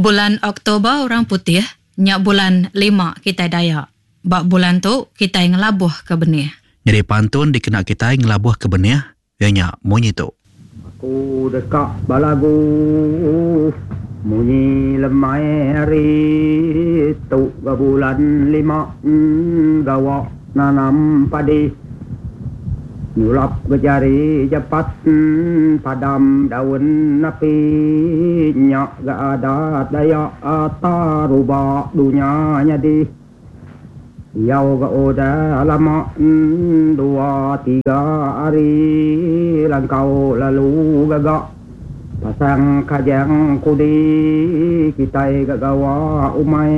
Bulan Oktober orang putih nya bulan lima kitai Dayak. Ba bulan tu kitai ngelabuhka benih. Nyadi pantun dikena kitai ngelabuhka benih iya nya munyi tu. Aku deka belagu munyi lemai hari tu ga bulan lima gawa nanam padi. Nyulap ga jari japat padam daun api nya ga adat Dayak taruba dunya nyadi. Diau ga udah lama dua tiga hari langkau lalu gaga pasang kajang kudi kitai ga gawa umai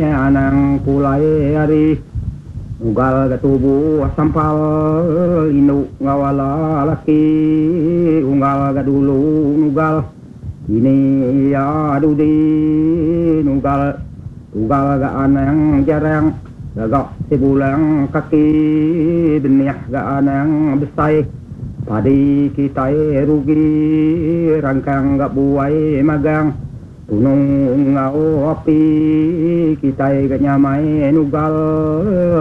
anang pulai hari. Nugal ga tubuh sampal indu enggau ala laki unggal ga dulu nugal ini iya dudi nugal tugal ga anang jarang gaga sibulang kaki benih ga anang besai padi kitai rugi rangkang ga buai magang. Tunu enggau api kitai ga nyamai nugal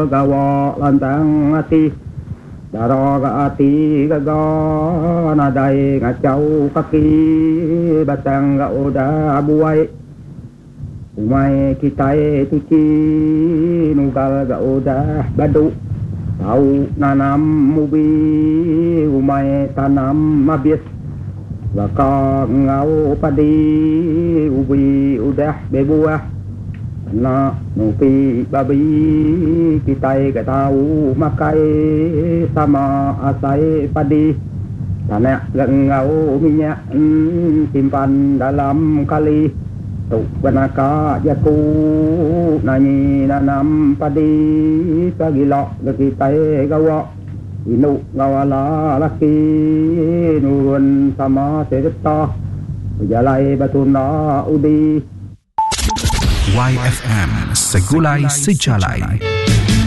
gawa lantang ati. Dara ga ati gaga nadai ngachau kaki batang ga udah buai. Umai kitai tuchi nugal ga udah badu tau nanam ubi umai tanam abis. Baka enggau padi ubi udah bebuah kena nupi babi kitai ga tau makai sama asai padi tanak ga enggau minyak simpan dalam kali tu ga naka jaku nanyi nanam padi pagila ga kitai gawa. Indu enggau ala laki nurun sama sereta bejalai betunda udi. Waifm Segulai Sejalai.